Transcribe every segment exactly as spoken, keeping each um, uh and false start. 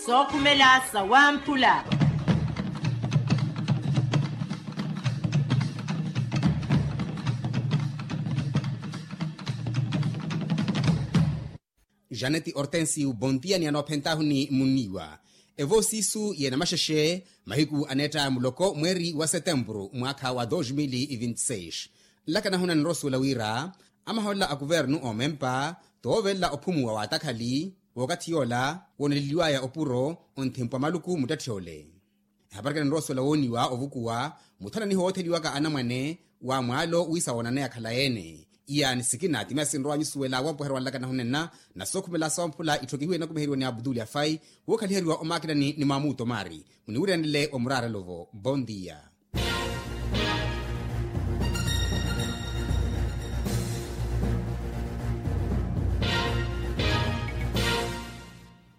Sookhumela sawamphula. Janeti hortensio bontia ni anoophentaahu ni munniiwa. Evoosiisu yeena maxexe mahiku aneetta muloko mweeri wa setempuru mwaakha wa dos mil vinti seis. Nlakana huna ninrosuwela wira amahoolela a kuvernu oomempa toovelela ophumuwa w'atakhali w'okathi yoola wooneleliwaya opuro onthimpwa maluku muttetthe ole. Ehapari kene ninrosuwela wooniwa ovukuwa muthananiho wootheliwaka anamwane wa mwaalo wiisa woonaneya khalayi-ene. Iya ni sikina timasi nrowa nyusuwela wampoherwa nlakana hunenna na sookhumela sawamphula itthokihiwe inakumiheriwa ni abduli afai. Wookhaliheriwa omakinani ni mamuto mari muniwiryanele omuraarelo-vo bondia.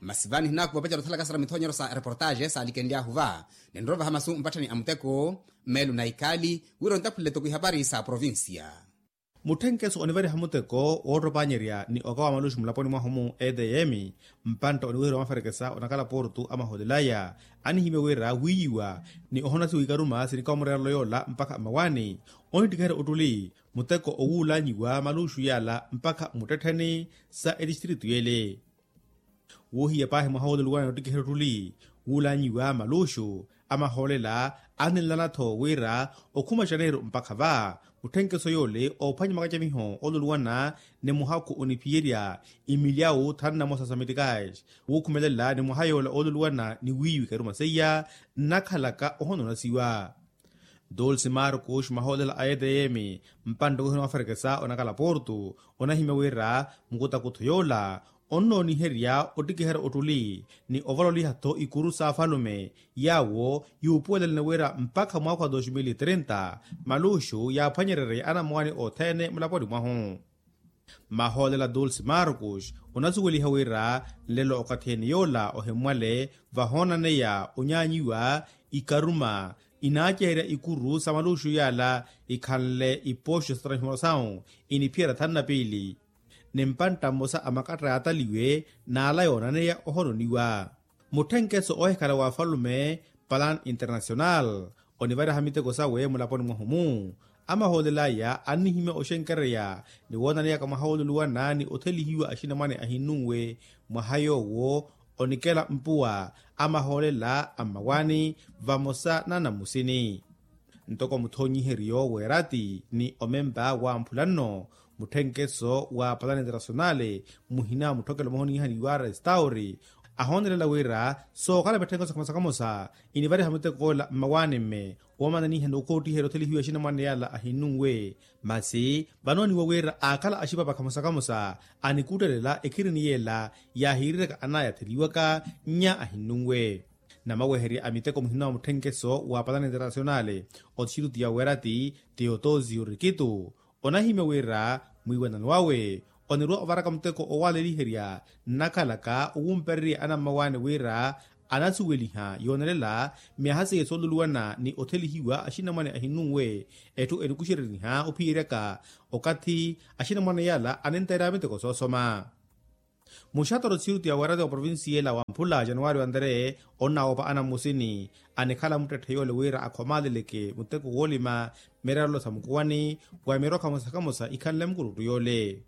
Masi vani hinakuva opacela othalaka sara mithonyero sa reportaxe saalikenly'ahu va. Ninrovaha masu mpatthani a muteko mmeelo na ikali wira ontaphulele toko ihapari sa provincia. Mutthenkeso onivariha muteko woottopanyerya ni okawa maluxu mulaponi mwahu-mu edm mpantta oniwiheriwa maferekesa onakhala portu amahoolelaya anihimya wira wiiyiwa ni ohonasiwa ikaruma sinikawa mureerelo yoola mpakha mmawaani onittikiherya ottuli muteko owuulanyiwa maluxu yaala mpakha mmuttettheni sa etistritu yeele. Woohiya paahi mwaha wooluluwana ni ottikiherya ottuli wuulanyiwa maluxu amahoolela anninlana-tho wira okhuma janeiro mpakha va mutthenkeso yoole oophwanya makacamiho ooluluwana ni muhakhu oniphiyerya imilyawu thanu na mosa sa metikais wuukhumelela ni mwaha yoola ooluluwana ni wiiyiwa ikaruma seiya nnakhalaka ohononasiwa. Dulce marcos mahoolela a edm mpantta ohiwa maferekesa onakhala portu onahimya wira mukutakutho yoola onnooniherya ottikiherya ottuli ni ovaloliha-tho ikuru s'afalume yaawo yuupuwelelene wira mpakha mwaakha wa dos mil trinta maluxu yaaphwanyererye anamwaani othene mulaponi mwahu. Mahoolela dulce marcos onasuweliha wira nlelo okathi-ene yoola ohimmwale vahoonaneya onyaanyiwa ikaruma inaaceherya ikuru sa maluxu yaala ikhanle ipoxo sa transformasawu iniphiyerya thanu na piili ni mpantta mmosa a makatta yaataliwe n'ala yoonaneya ohononiwa. Mutthenkeso oohikhala w'afalume plan international onivariha miteko sawe mulaponi mwahu-mu amahoolelaya annihimya oxenkereya ni woonaneyaka mwaha wooluluwana ni othelihiwa axinamwane ahinnunwe mwaha yoowo onikela mpuwa amahoolela a mmawaani vamosa n'anamusini. Ntoko muthonyiheryo w'erati ni omempa wamphula nno mutthenkeso wa palani internasionale muhina mutthokelo mwaha oniihaniwa restauri ahoonelela wira sookhala mitthenkeso kamosa kamosa inivariha mutekoola mmawaani-mme woomananiha ni okoottiherya othelihiwa axinamwane yaala ahinnunwe. Masi vanooniwa wira aakhala axipapa kamosa kamosa anikuttelela ekhirini yeela yaahiiriraka anaya atheliwaka nnya ahinnunwe. Namaweherya a miteko muhina wa mutthenkeso wa palani internasionale otixiruti ya werati teotosio rikitu onahimya wira mwiiwanano awe onirwa ovaraka muteko owaaleliherya nnakhalaka owumpererya anammawaani wira anasuweliha yoonelela myaha seiya sooluluwana ni othelihiwa axinamwane ahinnunwe. Etthu enikuxereriha ophiyeryaka okathi axinamwane yala aninteerya miteko soosoma. Muxatoro txiruti ya werati wa provincia ela wamphula januwari wa ntere onnawoopa anammusini anikhala muttetthe yoole wira akhomaaleleke muteko woolima mireerelo sa mukuwani wa mirokha mosa kamosa ikhanle mukuruttu yoole.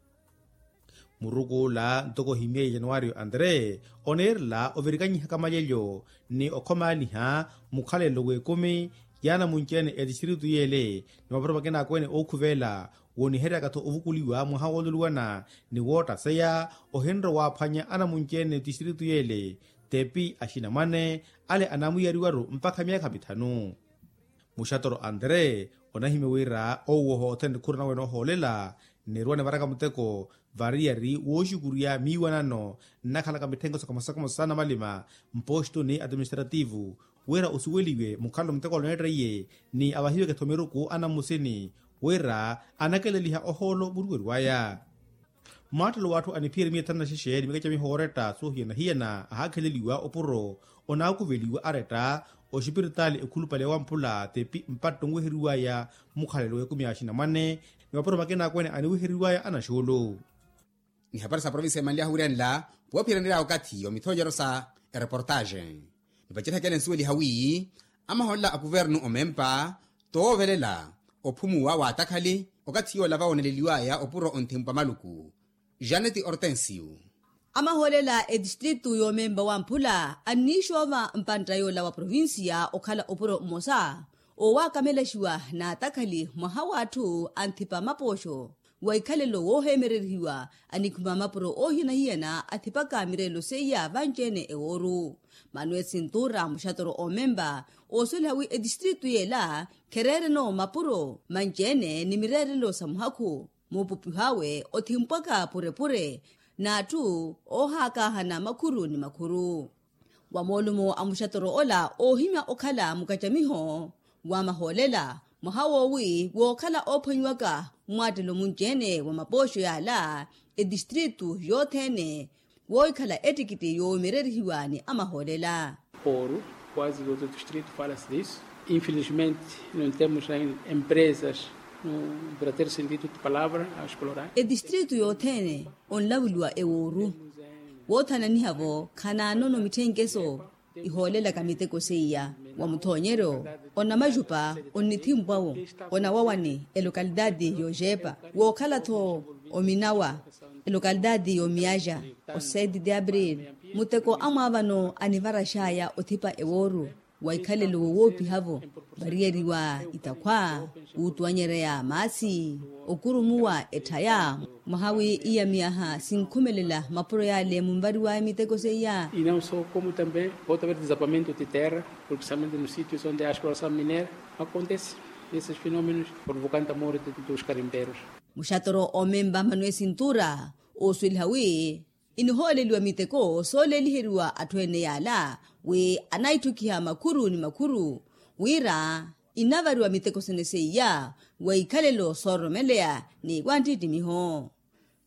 Murukuula ntoko ohimyeiye januwari wa ntere oneerela ovirikanyihaka malyelyo ni okhomaaliha mukhalelo w'ekumi y'anamunci-ene etistritu yeele ni mapuro makina akwene ookhuveela woniheryaka-tho ovukuliwa mwaha wooluluwana ni woottaseya ohinrowa waaphwanya anamunci-ene tistritu yeele tepi axinamwane ale anamwiyariwaru mpakha myaakha mithanu. Muxatoro andre onahimya wira owoho othene nikhuru nawe noohoolela nniruwa nivaraka muteko variyari wooxukurya miiwanano nnakhalaka mitthenkeso kamosa kamosa sa namalima mpostu ni administrativu wira osuweliwe mukhalelo muteko aloneetteiye ni avahiweke-tho miruku anammusini wira anakeleliha ohoolo muruwerwaya. Mwaattelo w'atthu aniphiyerye miya thanu na xexe ni mikacamiho ooretta soohiyana-hiyana ahaakheleliwa opuro onaakuveliwa aretta oxipiritaali ekhulupale ya wamphula tepi mpatto onweheriwaya mukhalelo w'ekumi ya axinamwane ni mapuro makina akwene aniweheriwaya anaxuulu. Ihapari sa provincia emanly'ahu wiiranla, poophiranirya okathi yo mithonyero sa ereportaxe. Nipacerihakela ensuweliha wi amahoolela a kuvernu omempa toovelela ophumuwa w'atakhali okathi yoola vawooneleliw'aya opuro onthimpwa maluku. Janeti ortensio. Amahoolela etistritu y'omempa wamphula anniixoova mpantta yoola wa provincia okhala opuro mmosa owakamelaxiwa n'atakhali mwaha w'atthu anthipa mapooxo wa ikhalelo wooheemererihiwa anikhuma mapuro oohiyana-hiyana athipaka mireelo seiya vanci-ene ewooru. Manuel sintura muxatoro omempa oosweliha wi etistritu y'ela khereereno mapuro manci-ene ni mireerelo sa muhakhu muupupiho awe othimpwaka purepure n'atthu oohaakaahana makhuru ni makhuru. Wa moolumo a muxatoro ola oohimya okhala mukacamiho wa mahoolela mwaha woowi wookhala oophwanyiwaka mmwaattelo munci-ene wa mapooxo y'ala etistritu yothene wookhala ettikiti yoomererihiwa ni amahoolela. Oru quase todo o distrito fala-se disso. Infelizmente não temos empresas no verdadeiro sentido de palavra a explorar. Etistritu yothene onlavuliwa ewooru woothananiha-vo khanaanono mitthenkeso ihoolelaka miteko seiya wa muthoonyeryo onamajupa onnithimpwa-wo onawawani elokalitaati y'oxeepa wookhala-tho ominawa elokalitaati y'omiyaxa o sete de abril. Muteko amwaavano anivarax'aya othipa ewooru wa ikhalelo wowoopiha-vo variyeriwa itakhwa wuutuwanyereya maasi okurumuwa etthaya mwaha wi iya miyaha sinkhumelela mapuro yale munvariw'aya miteko seiya. E não só como também pode haver desabamento de terra porque somente nos sítios onde a exploração mineira acontece esses fenômenos provocando a morte dos garimpeiros. Muxatoro omempa manuel sintura oosweliha wi inihooleliwa miteko sooleeliheriwa atthu ene yaala wi anaitthukiha makhuru ni makhuru wira inavariwa miteko sene seiya wa ikhalelo soororomeleya ni wanttittimiho.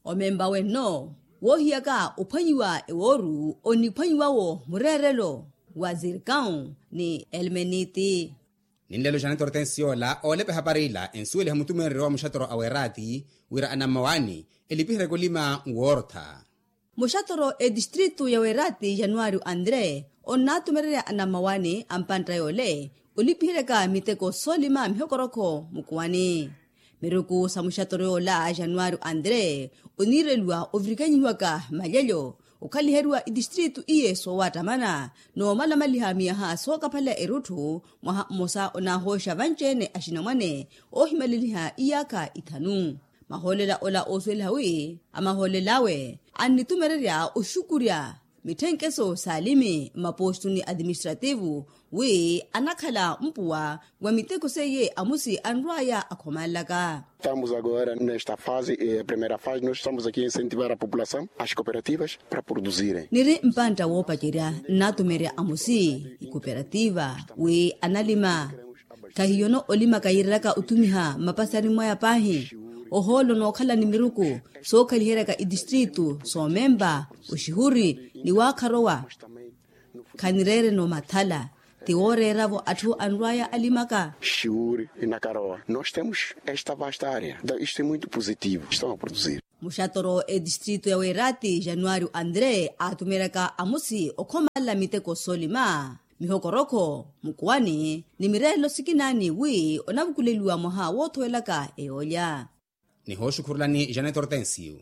Omempa wenno woohiyaka ophwanyiwa ewooru oniphwanyiwa-wo mureerelo wa zirkau ni elmeniti. Ninlelo janete ortensi yoola oolepa ehapari ila ensuweliha mutumeereryo wa muxatoro a weeraati wira anammawaani elipihereke olima nwoortha. Muxatoro etistritu ya weeraati januwari andre onnaatumererya anammawaani a mpantta yoole olipiheryaka miteko soolima mihokorokho mukuwani. Miruku sa muxatoro yoola januwari andre oniireliwa ovirikanyihiwaka malyelyo okhaliheriwa itistritu iye soowattamana noomalamaliha miyaha sookaphalela erutthu mwaha mmosa onaahooxa vanci-ene axinamwane oohimaleliha iyaakha ithanu. Mahoolela ola oosuweliha wi amahoolela awe annitumererya oxukurya mitthenkeso s'alimi mmapostu ni atiministrativu wi anakhala mpuwa wa miteko seiye amusi anrw'aya akhomanlaka. Estamos agora nesta fase primeira fase nós estamos aqui a incentivar a população as cooperativas para produzirem. Niri mpantta woopacerya nnaatumerya amusi ikoperativa wi analima. Khahiyono olimaka yiirelaka othumiha mmapasari mwaya paahi ohoolo nookhala ni miruku sookhaliheryaka itistritu soomempa oxihuri ni waakharowa. Khanireereno mathala ti wooreera-vo atthu anrw'aya alimaka. Xiwuri inakarowa nós temos esta vasta área então isto é muito positivo estão a produzir. Muxatoro etistritu ya weeraati januwari andre aatumeryaka amusi okhomanla miteko soolima mihokorokho mukuwani ni mireerelo sikinaani wi onavukuleliwa mwaha woothowelaka eyoolya. Nihooxukhurulani janet hortensio.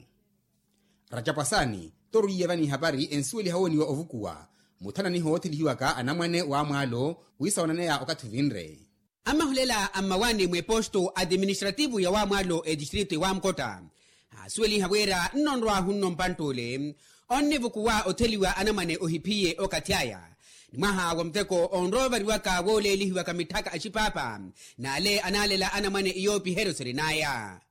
Racapwasaani toru iye vani ihapari ensuweliha wooniwa ovukuwa muthananiho woothelihiwaka anamwane w'amwaalo wiisawananaya okathi ovinre. Amahulela a mmawaani mw'eposto atiministrativu ya wamwaalo etistritu ya wamkotta aasuweliha wira nnonrw'ahu nno mpantt'ule onnivukuwa otheliwa anamwane ohiphiye okathi aya ni mwaha wa muteko onroovariwaka wooleelihiwaka mitthaka axipaapa n'ale anaalela anamwane iyoopiheryo sirin'aya.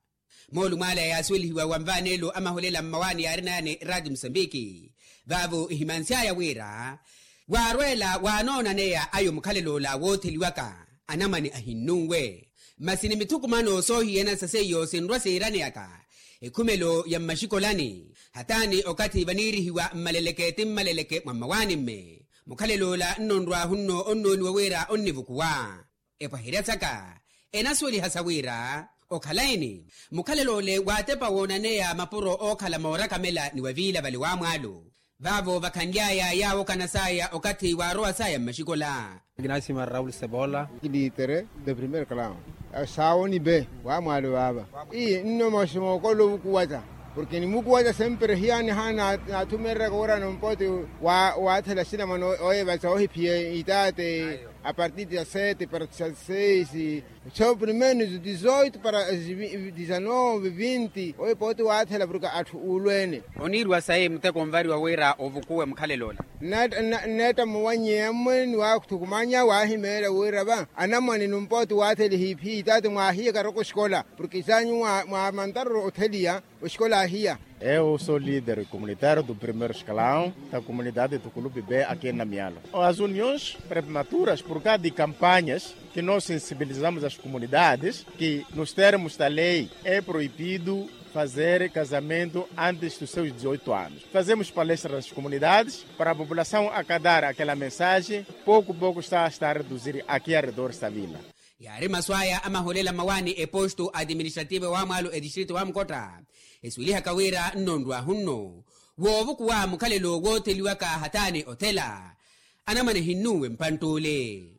Moolumo ale yaasuwelihiwa wa nvaanelo amaholela mmawaani yaarinaya ni raati musambiki vaavo ihimansy'aya wira waarweela waanoonaneya ayo mukhalelo ola wootheliwaka anamwane ahinnunwe masi ni mithukumano soohiyana sa seiyo sinrwa siiraneyaka ekhumelo ya mmaxikolani hataani okathi vaniirihiwa mmaleleke ti mmaleleke mwa mmawaani-mme. Mukhalelo ola nnonrw'ahu nno onnooniwa wira onnivukuwa epwaherya saka enasuweliha sa wira Okhala-eni, mukhalelo ole waatepa woonaneya mapuro ookhala moorakamela ni waviila vale wamwaalo. Vaavo vakhanly'aya yaawo kanas'aya okathi waarowas'aya mmaxikola. Kinasima raul sebola. Kilitere de primeiro clown. Saawoni be wamwaalo vaava. Ii nno maxi mookolo ovukuwata. Porke nimukuwata sempre hiyaani haana naathumereryaka wira nompoti. Waathela sinamana oyevatsa ohiphiya itaate. Apartir de a sete para a seis. Soo primeiros dezoito para dezanove vinti oyo pooti waathela porke atthu uulweene. Oniiriwa sayi muteko onvariwa wira ovukuwe mukhalelo ola. Nneetta muwannyeya mmwe ni waathukumanya waahimeela wira va anamwane numpooti waathela ehiiphiya itaati mwaahiya karoko oxikola porke isaanyu mwaamantaroro otheliya. Oxikola ahiya. Eu sou líder comunitário do primeiro escalão da comunidade do clube b aqui em namiala. As uniões prematuras por causa de campanhas que nós sensibilizamos as comunidades que nos termos da lei é proibido fazer casamento antes dos seus dezoito anos. Fazemos palestras nas comunidades para a população acatar aquela mensagem. Pouco pouco está a reduzir aqui arredores da vila. Yaari masu aya amaholela mmawaani eposto administrativo wamwaalo etistrito wa mukotta. Esuwelihaka wira nno nrwaahu nno woovukuwa mukhalelo wootheliwaka hataani othela. Anamwane ehinnuwe mpantt'ule.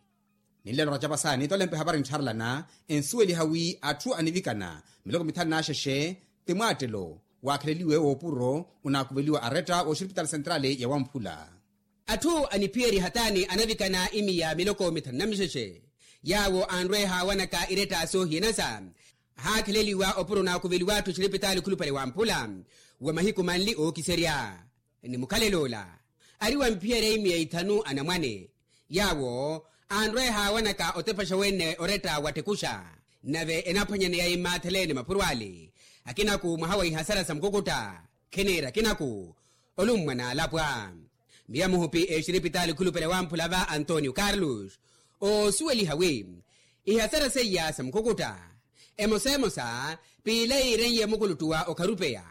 Ninlelo racapasaani tolempe hapari nttharelana ensuweliha wi atthu anivikana miloko mithanu n'axexe ti mwaattelo waakheleliwe woopuro onaakuveliwa aretta w'oxiripitali sentrali ya wamphula. Atthu aniphiyerya hataani anavikana imiya miloko mithanu na mixexe yaawo anrweha wanaka iretta soohiyanasa. Ahaakheleliwa opuro naakuveliwa atthu exiripitaali khulupale wa mphula wa mahiku manli ookiserya. Ni mukhalelo ola ari wamphiyerya imiya ithanu anamwane yaawo anrweha wanaka otepaxa wene oretta wattekuxa. Nave enaphwanyaneya immaathaleene mapuro ale akinaku mwaha wa ihasara sa mukukutta. Khiniira akinaku olummwa n'alapwa. Miya muhupi exiripitaali khulupale wamphula va antonio carlos oosuweliha wi ihasara seiya sa mukukutta emosa emosa piila yiiren'ye mukuluttuwa okharupeya.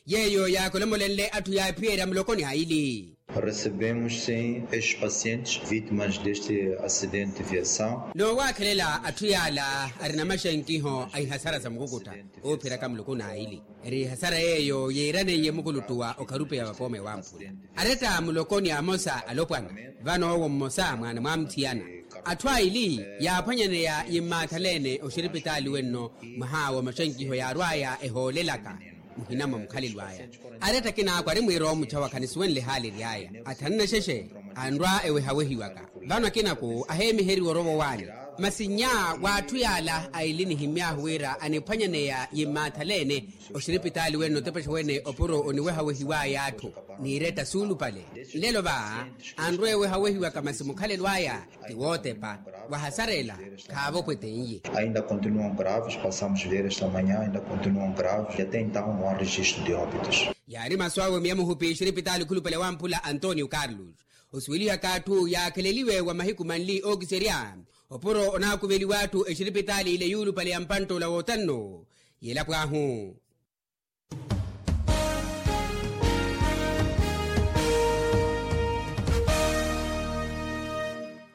Yeeyo yaakolomolenle atthu yaaphiyerya muloko ni aili. Recebemos sim estes pacientes vítimas deste acidente de viação. Noowaakhelela atthu yaala arina maxenkiho a ihasara sa mukukutta oophiyeryaka muloko n'aili. Eri ihasara yeeyo yiiraneiye mukuluttuwa okharupeya vapoome wamphula aretta muloko ni amosa alopwana. Vano owo mmosa mwaana mwamuthiyana atthu aili yaaphwanyaneya yimmaathalene oxiripitaali wenno. Mwaha wa maxenkiho yaarwaya ehoolelaka muhina mwa mukhalelo aya aretta akinaku ari mwiira omuchawa khanisuwenle ehaali ery'aya athanu na xexe anrwa ewehawehiwaka. Vano akinaku aheemiheriwa orowa owaani masi nnya w'atthu yaala aili nihimy'ahu wira aniphwanyaneya yimmaathalene oxiripitaali wene notepexa wene opuro oniwehawehiw'aya atthu n'iretta suulupale. Nlelo va anrwa ewehawehiwaka masi mukhalelo aya ti wootepa wahasarela khaavopweten'ye. Ainda continuam graves passamos ver esta manhã ainda continuam graves e até então no ar registro de óbitos. Yaari masu awe miya muhupi exiripitaali khulupale wamphula antonio carlos osuwelihaka atthu yaakheleliwe wa mahiku manli ookiserya opuro onaakuveliwa atthu exiripitaali ile yuulupale ya mpantt'ola wootanno. Yelapw'ahu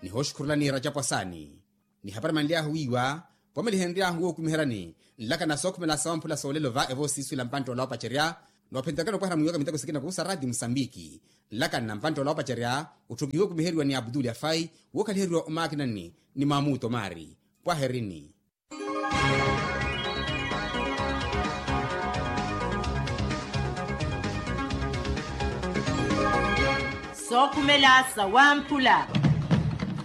nihooxukhurulani racapwasaani. Nihapari manly'ahu wiiwa pomelihenry'ahu wookumiheryani nlakana sookhumela sawamphula soolelo va evoosiiswila mpantt'ola oopacerya noophenterekana opwahela mwiiwaka miteko sikina kuusa rati musambiki. Nlakana mpantt'ola oopacerya otthukihiwe okumiheriwa ni abdul afai wookhaliheriwa omaakinani ni mamuto maari. Pwaherini. Sookhumela sawamphula.